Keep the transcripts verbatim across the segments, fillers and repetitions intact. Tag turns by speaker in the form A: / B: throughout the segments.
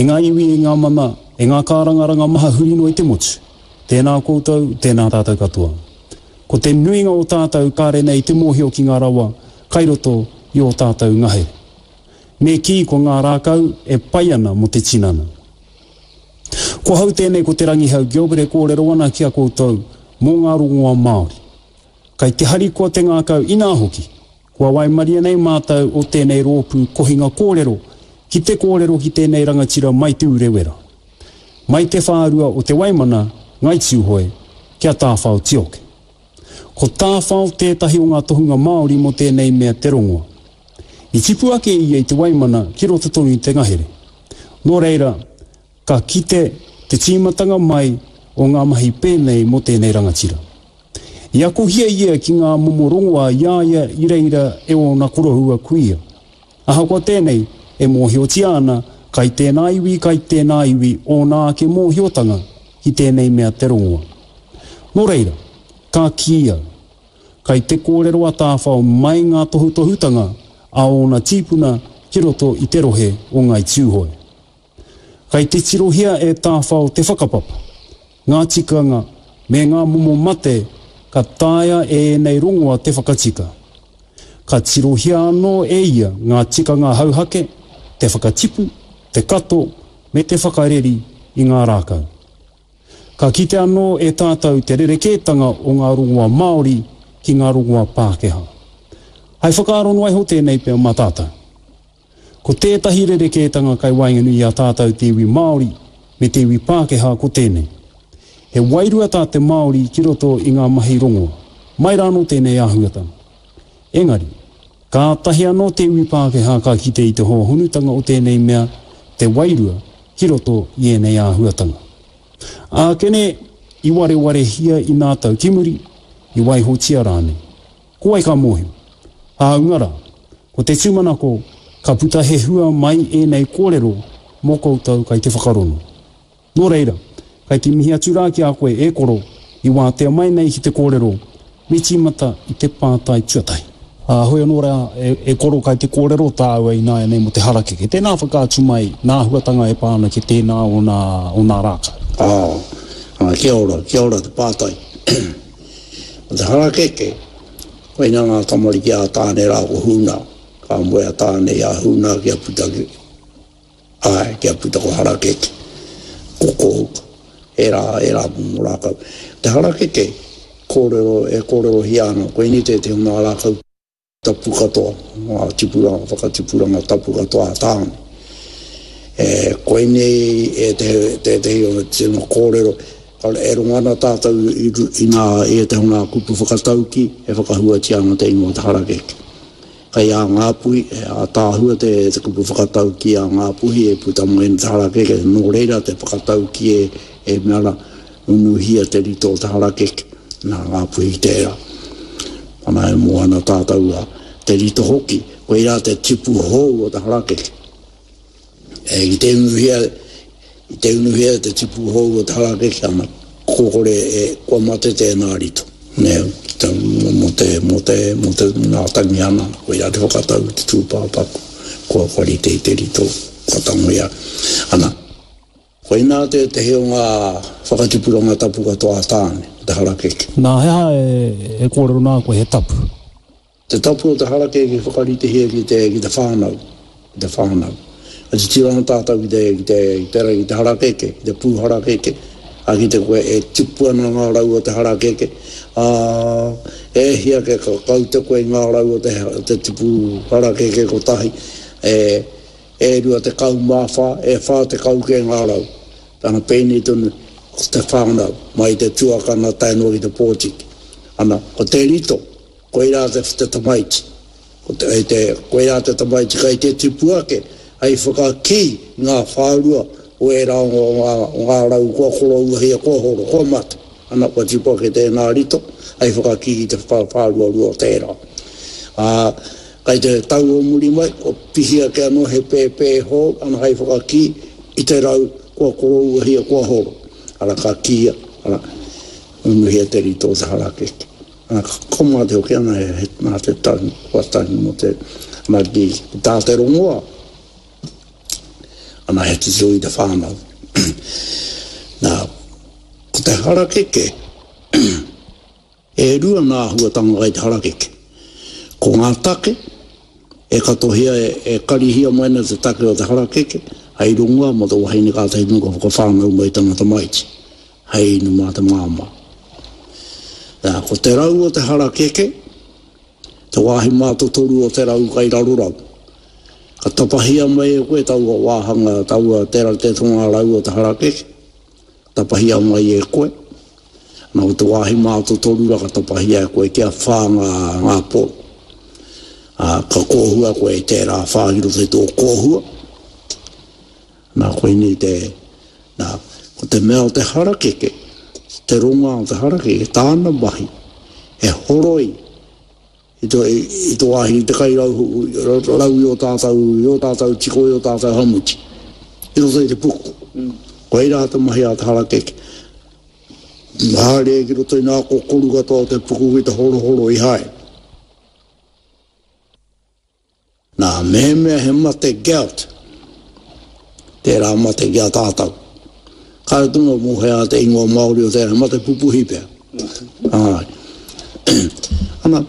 A: E ngā iwi, e ngā mana, e ngā kārangaranga maha huri noa i te motu. Tēnā koutou, tēnā tātou katoa. Ko te nuinga o tātou kāre nei te mōhio ki ngā rawa kai roto i ō tātou ngahere. Me kī ko ngā rākau e pai ana mō te tinana. Ko hau tēnei ko Te Rangihau Gilbert e kōrero ana ki a koutou mō ngā rongoa Māori. Kai te harikoa te ngākau inā hoki, kua waimaria nei mātou o tēnei rōpū kohinga kōrero ki te kōrero ki tēnei rangatira mai Te Urewera. Mai te whārua o Te Waimana, Ngai Tūhoe, kia Tāwhao Tioke. Ko Tāwhao tētahi o ngā tohunga Māori mō tēnei mea te rongoa. I tipu ake ia i Te Waimana ki roto tonu i te ngahere. Nō reira, ka kite te tīmatanga mai o ngā mahi pēnei mō tēnei rangatira. I akohia ia ki ngā momo rongoa i a ia i reira e ōna koroua kuia. Ahakoa tēnei, e mōhiotia ana kai tēnā iwi, kai tēnā iwi ōna ake mōhiotanga ki tēnei mea te rongoa. Nō reira, ka kī au, kai te kōrero a Tāwhao mai ngā tohutohutanga a ōna tīpuna ki roto i te rohe o Ngai Tūhoe. Kai te tirohia e Tāwhao te whakapapa, ngā tikanga me ngā momo mate ka taea e ēnei rongoa te whakatika. Ka tirohia anō e ia ngā tikanga hauhake, te whakatipu, te kato me te whakareri i ngā rākau. Ka kite anō e tātou te rerekētanga o ngā rongoa Māori ki ngā rongoa Pākehā. Hai whakaaro noa iho tēnei pea mā tātou. Ko tētahi rerekētanga kai waenganui i a tātou te iwi Māori me te iwi Pākehā ko tēnei. He wairua tā te Māori ki roto i ngā mahi rongoa. Mai rānō tēnei āhuatanga. Engari, kātahi anō te iwi Pākehā ka kite i te hōhonutanga o tēnei mea te wairua ki roto i ēnei āhuatanga. Ākene, i warewarehia i nā tau ki muri, i waihotia rānei. Ko wai ka mōhio? Hāunga rā, ko te tūmanako ka puta he hua mai ēnei kōrero mō koutou kai te whakarono. Nō reira, kai te mihi atu rā ki a koe e koro i wātea mai nei ki te kōrero, me tīmata i te pātai tuatahi. Ā, hoi anō rā, e, e koro kai te kōrero tāua ināianei mō te harakeke. Tēnā whakaatu mai nā āhuatanga e pā ana ki tēnā o nā, o nā rākau.
B: Ā, ā, kia ora, kia ora te pātai. Ko te harakeke, koinā ngā tamariki a Tāne rā ko Huna. Ka moe a Tāne i a Huna kia puta ki, āe, kia puta ko harakeke, ko kōhuka. Ērā, ērā momo rākau. Te harakeke, kōrero, e kōrerohia ana, koinei tētehi o ngā rākau tapu katoa, ngā tipuranga, whakatipuranga tapu katoa a Tāne. E, koinei e te, tētehi o tino kōrero, e rongo ana tātou i, i, ngā, i ētehi o ngā kupu whakatauki e whakahuatia ana te ingoa o te harakeke. Kai a Ngāpuhi, e ātaahua te, te kupu whakatauki a Ngāpuhi e puta mai ana te harakeke, nō reira te whakatauki e, e mea ana, unuhia te rito o te harakeke, nā Ngāpuhi tērā. Ana e mō ana tātou a te rito hoki, koirā te tipu hou o te harakeke. E, ki te unuhia, i te unuhia te tipu hou o te harakeke, ana, kokore e, kua mate tēnā rito. Nē, ki te, mō te, mō te, mō te ngā tangihana, koirā te whakatau te tūpāpaku, kua, kua rite i te rito, kua tangoia. Ana, koinā tētehi o ngā whakatipuranga tapu katoa a Tāne, o te harakeke.
A: Nā, he aha e, e kōrero nā koe he tapu?
B: Te tapu o te harakeke whakaritehia ki te, ki te whānau, ki te whānau. Ka titiro ana tātou ki te, ki te, ki te, ki te harakeke, ki te pū harakeke, a ki te koe e tipu ana ngā rau o te harakeke, ā, e hia ke ka kaute koe i ngā rau o te, te tipu harakeke kotahi, e, e rua tekau mā whā, e whā tekau ke ngā rau. Tana pēnei tonu, ko te whānau, mai te tuakana tae noa ki te pōtiki. Ana, ko te rito, koirā te, te tamaiti. Ko te, te, koirā te tamaiti kai te tipu ake, hei whakakī i ngā whārua o ērā o ngā, o ngā rau kua korouahia, kua horo, kua mate. Ana, kua tipu ake tēnā rito, hei whakakī i te whāruarua o tērā. Ā, kai te tau o muri mai, kua pihi ake anō he pēpē hou, ana hei whakakī i te rau kua korouahia, kua horo. Ara ka kīia, ara, unuhia te rito o te harakeke. Ana, ka koma te hoki ana he, he, nā te tangi, kua tangi mō te, ana ki, ki tā te rongoa. Ana he titiro i te whānau. Nā, ko te harakeke, e rua ngā āhuatanga kai te harakeke. Ko ngā take, e katohia, e, e karihia mai ana te take o te harakeke, hei rongoa mō te wahine kātahi tonu ka whakawhānau mai tana tamaiti, hei inu mā te māmā. Nā, ko te rau o te harakeke, te wāhi mātotoru o te rau kai rarorau. Ka tapahia mai e koe taua wāhanga, taua tera te tonga rau o te harakeke, ka tapahia mai e koe. Nā, ko te wāhi mātotoru ra ka tapahia e koe kia whā ngā, ngā poro. Ā, ka kōhua koe i tērā whā ki roto i tō kōhua. Nā, koinei te, nā, ko te mea o te harakeke, te rongoā o te harakeke, tāna mahi, he horoi i tō, i, i tō wāhi i te kai rau, rau i o tātou, i o tātou tiko, i o tātou hamuti, i roto i te puku. Koirā te mahi a te harakeke. Haere ki roto i ngā kokoru katoa o te puku ki te horohoro i haere. Nā, mehemea he mate gout, tērā mate ki a tātou. Kāre tonu mō hea te ingoa Māori o tērā, he mate pupuhi pea. Āe. Ana,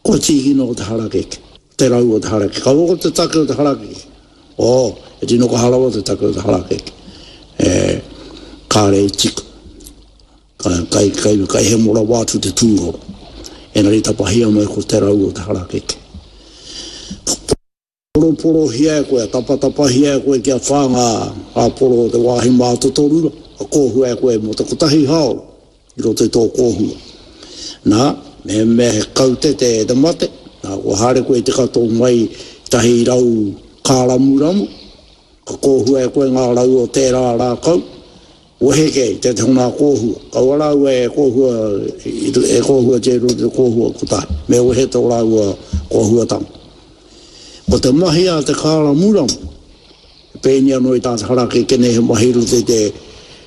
B: kua tīkina o te harakeke, te rau o te harakeke. Kaua ko te take o te harakeke. Oh, e tino kaha rawa te take o te harakeke. E, kāre i tika. Kai, kai, kai, kai hemo rawa atu te tūroro. Engari tapahia mai ko te rau o te harakeke. Poroporohia e koe, tapatapahia e koe kia whā ngā, ngā poro o te wāhi mātotorura, ka kōhua e koe mō te kotahi haora i roto i tō kōhua. Nā, mehemea he kaute te, te mate, nā, kua haere koe i te kato mai tahi rau kāramuramu, ka kōhua e koe ngā rau o tērā rākau, wehe kē i tētahi o ngā kōhua. Kaua rāua e kōhua, e kōhuatia i roto i te kōhua kotahi, me wehe tō rāua kōhuatanga. Ko te mahi a te kāramuramu, he pēni anō i tā te harakeke nei, he mahi i roto i te,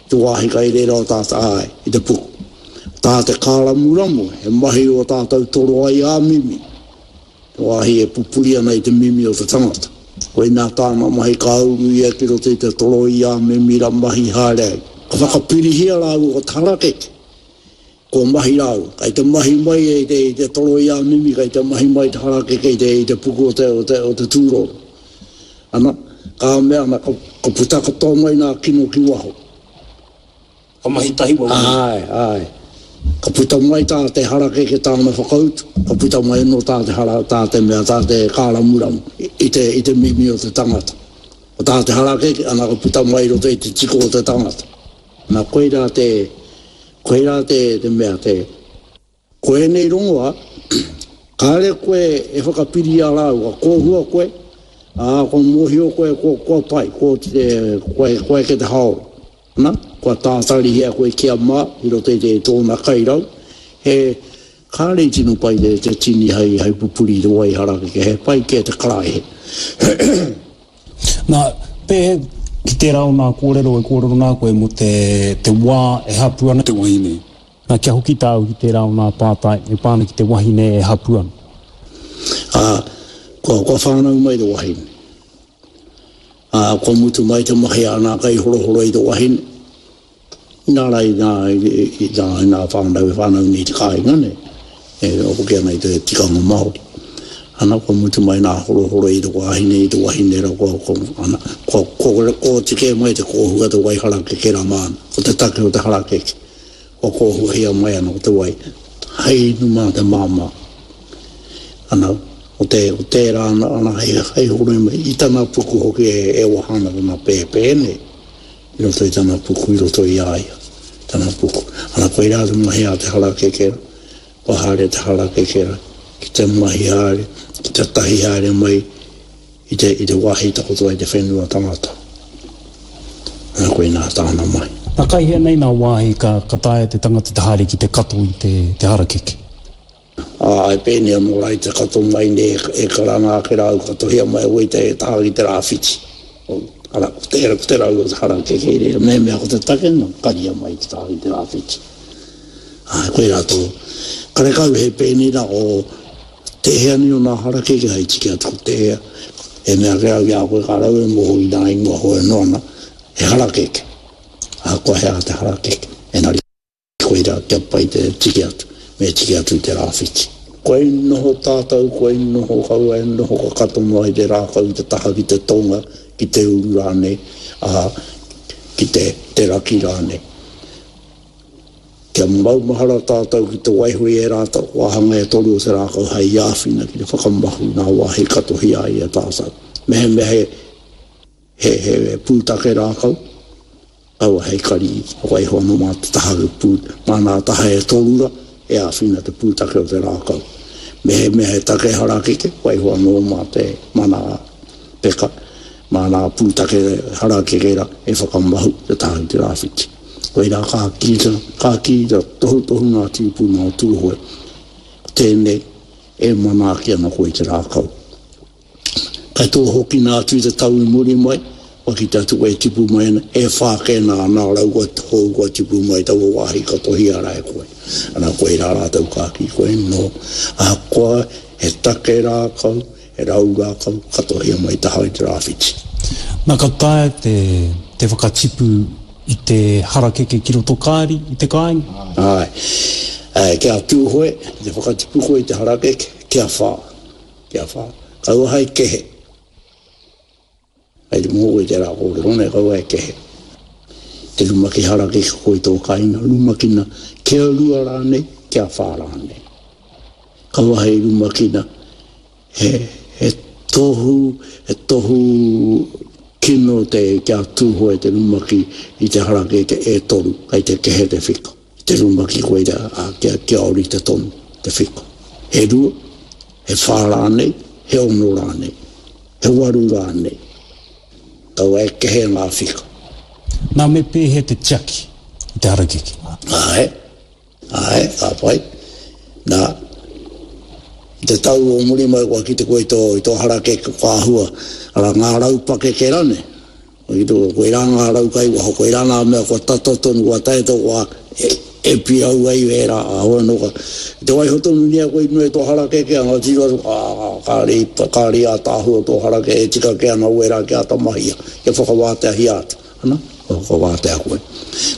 B: te wāhi kai reira o tā te āe, i te puku. Tā te kāramuramu, he mahi o tātou toro ai ā mimi, te wāhi e pupuri ana i te mimi o te tangata. Koinā tāna mahi ka uru ia ki roto i te toro i ā mimi ra mahi haere ai. Ka whakapirihia rāua ko te harakeke, kua mahi rāua. Kai te mahi mai e te, i te toro i ā mimi, kai te mahi mai te harakeke i te, i te puku o te, o te, o te tūroro. Ana, ka mea ana, ka, ka puta katoa mai ngā kino ki waho.
A: Ka mahi tahi wawe.
B: Āe, āe. Ka puta mai tā te harakeke tāna whakautu, ka puta mai anō tā te hara, tā te mea, tā te kāramuramu i te, i te mimi o te tangata. Ko tā te harakeke, ana ka puta mai i roto i te tiko o te tangata. Ana koirā te, koirā te, te mea, te, ko ēnei rongoā, kāre koe e whakapiri i a rāua, ka kōhua koe, ā, kua mōhio koe, kua, kua pai, kua, te, kua, kua eke te haora. Ana, kua tātarihia koe kia mā i roto i te tōna kairau, he, kāre i tino pai te, te tini hei, hei pupuri i te wai harakeke, he pai kē te karaehe.
A: Nā, pēhea ki tērā o ngā kōrero e kōrero nā koe mō te, te wā e hapū ana te wahine? Nā, kia hoki tāu ki tērā o ngā pātai e pā ana ki te wahine e hapū ana.
B: Ā, kua, kua whānau mai te wahine. Ā, kua mutu mai te mahi a ngā kaihorohoro i te wahine. Inā rā i ngā, i, i ngā, i ngā whānau e whānau nei i te kāinga nei, e hoki ana i te tikanga Māori. Ana, kua mutu mai ngā horohoro i te wahine, i te wahine rā, kua, kua, ana, kua, kua, kua oti kē mai te kōhua te wai harakeke rā māna. Ko te take o te harakeke, kua kōhuahia mai ana ko te wai, hei inu mā te māmā. Ana, o te, o tērā ana, ana hei, hei horoi mai, i tana puku hoki e, e waha ana tana pēpē nei, i roto i tana puku, i roto i a ia, tana puku. Ana, koirā te mahi a te harakeke rā, kua haere te harakeke rā, ki te mahi haere, ki te tahi haere mai i te, i te wāhi takoto ai te whenua tangata. Ana, koinā tāna mahi.
A: Nā, kai hea nei nā wāhi ka, ka taea te tangata te haere ki te kato i te, te harakeke?
B: Ā, e pēnei anō rā i te kato mai nei e, e karanga ake rā au, katohia mai au i te taha ki te rāwhiti. Arā, ko te, ko te rau o te harakeke i reira, mehemea ko te take, nā, karia mai te taha ki te rāwhiti. Ā, koirā tō, karekau he pēnei rā o tēhea nei o nā harakeke hai tiki atu ko tēhea, E mea ke au i a koe ka rau e moho i nā ingoa hoi anō ana, he harakeke. Ahakoa he aha te harakeke, engari koirā kia pai te tiki atu, me tiki atu i te rāwhiti. Kua i noho tātou, kua i noho kaua e noho ka kato noa i te rākau i te taha ki te tonga, ki te uru rānei, ā, ki te, te raki rānei. Kia maumahara tātou ki te waiho i ērā wāhanga e toru o te rākau hei āwhina ki te whakamahu i ngā wāhi katohia ai e tātou. Mehemea he, he, he pūtake rākau, kaua hei kari, waiho anō mā te taha pū, mā ngā taha e toru rā, e āwhina te pūtake o te rākau. Mehemea he take harakeke, waiho anō mā te, mā ngā peka, mā ngā pūtake harakeke rā e whakamahu te taha i te rāwhiti. Koirā ka kī, ka kī te tohutohu ngā tīpuna o Tūhoe, ko tēnei e manaaki ana koe i te rākau. Kai tō hokina atu i te tau i muri mai, kua kite atu koe e tipu mai ana, e whā kē nā nā rau kua hou kua tipu mai taua wāhi ka tohia rā e koe. Ana koirā rātou ka kī koe, nō, ahakoa he take rākau, he rau rākau, ka tohia mai taha i te rāwhiti.
A: Nā, ka taea te, te whakatipu i te harakeke ki roto kāri i te kāinga?
B: Āe. Āe, kia Tūhoe, ki te whakatipu koe i te harakeke, kia whā. Kia whā. Kaua hai kehe. Kei te moho koe i tērā kōrero nei, kaua e kehe. Te rumaki harakeke koe i tō kāinga, rumakina kia rua rānei, kia whā rānei. Kaua hei rumakina, he, he tohu, he tohu kino te kia Tūhoe te rumaki i te harakeke e toru, kei te kehe te whika. Te rumaki koira, ā, kia, kia ōrite tonu te whika. He rua, he whā rānei, he ono rānei, he waru rānei. Kaua e kehe ngā whika.
A: Nā, me pēhea te tiaki i te harakeke?
B: Āe. Āe, ka pai. Nā, i te tau o muri mai kua kite koe i tō, i tō harakeke kua āhua, arā, ngā rau pakeke rānei. Kua kite koe, koirā ngā rau kai waho, koirā ngā mea kua tata tonu, kua tae tō wā e, e pirau ai ērā āhua anō ka, i te waiho tonu nei koe i runga i tō harakeke, anga tiro atu, ā, kāre i, kāre i ātaahua tō harakeke, e tika kē ana wērā kia āta mahia, kia whakawāteahia atu. Ana, kua whakawātea koe.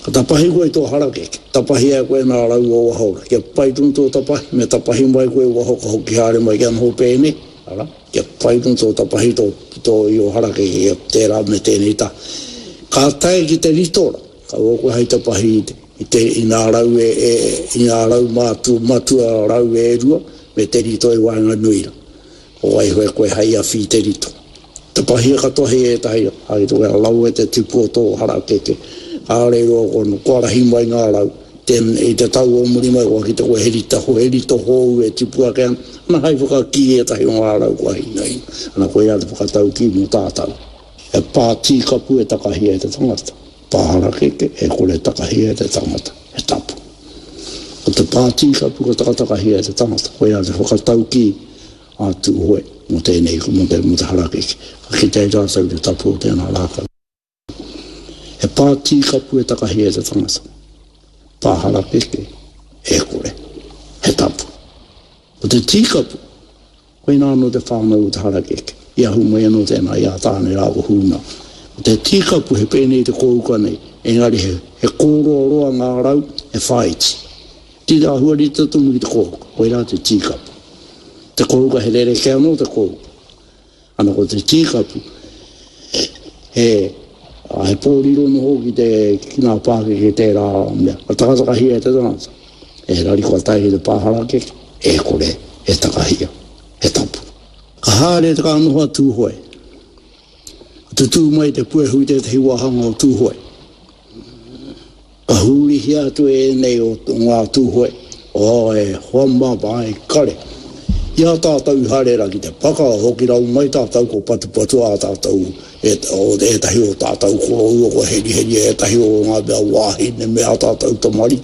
B: Ka tapahi koe i tō harakeke, tapahia e koe ngā rau o waho rā. Kia pai tonu tō tapahi, me tapahi mai koe i waho ka hoki haere mai kia noho pēnei, arā, kia pai tonu tō tapahi tō, tō i ō harakeke kia tērā me tēnei taha. Ka tae ki te rito rā, kaua koe hei tapahi i te, i te, i ngā rau e, e, i ngā rau mātu, matua rau e rua, me te rito i waenganui rā. Ko waiho e koe hei awhi i te rito. Tapahia katoa hei ētahi hai rohe rawe te tipu o tō harakeke. Kāore i roa kua, kua rahi mai ngā rau. Tēn, i te tau o muri mai kua kite koe he rita, he rito hou e tipu ake ana, ana hai whakakī ētahi o ngā rau kua hinaina. Ana koirā te whakataukī mō tātau. He pā tīkapu e takahia e te tangata, pā harakeke e kore e takahia e te tangata, he tapu. Ko te pā tīkapu ka takatakahia e te tangata, koirā te whakataukī a Tūhoe mō tēnei, mō te, mō te harakeke. Ka kite ai rātou i te tapu o tēnā rākau. He pā tīkapu e takahia e te tangata. Pā harakeke, e kore. He tapu. Ko te tīkapu, koinā anō te whānau o te harakeke. I ahu mai anō tēnā i a Tāne rā ko Hūna. Ko te tīkapu he pēnei te kōuka nei, engari he, he kōroaroa ngā rau, he whāiti. Tino āhua rite tonu ki te kōuka, koirā te tīkapu. Te kōuka he rerekē anō te kōuka. Ana ko te tīkapu, he, he pōriro noho ki te, ki ngā pākeke tērā mea. Ka takatakahia e te tangata, engari kua tae ki te pā harakeke, e kore e takahia, he tapu. Ka haere te ka noho a Tūhoe. Ka tutū mai te puehu i tētahi wāhanga o Tūhoe. Ka hurihia atu e ēnei o ngā Tūhoe, oh, e hoa mā, e kare. I a tātou i haere ra ki te paka, hoki rau mai tātou ko patupatua a tātou, e, o ētahi o tātou koroua kua heriheria ētahi o ngā mea wāhine me ā tātou tamariki.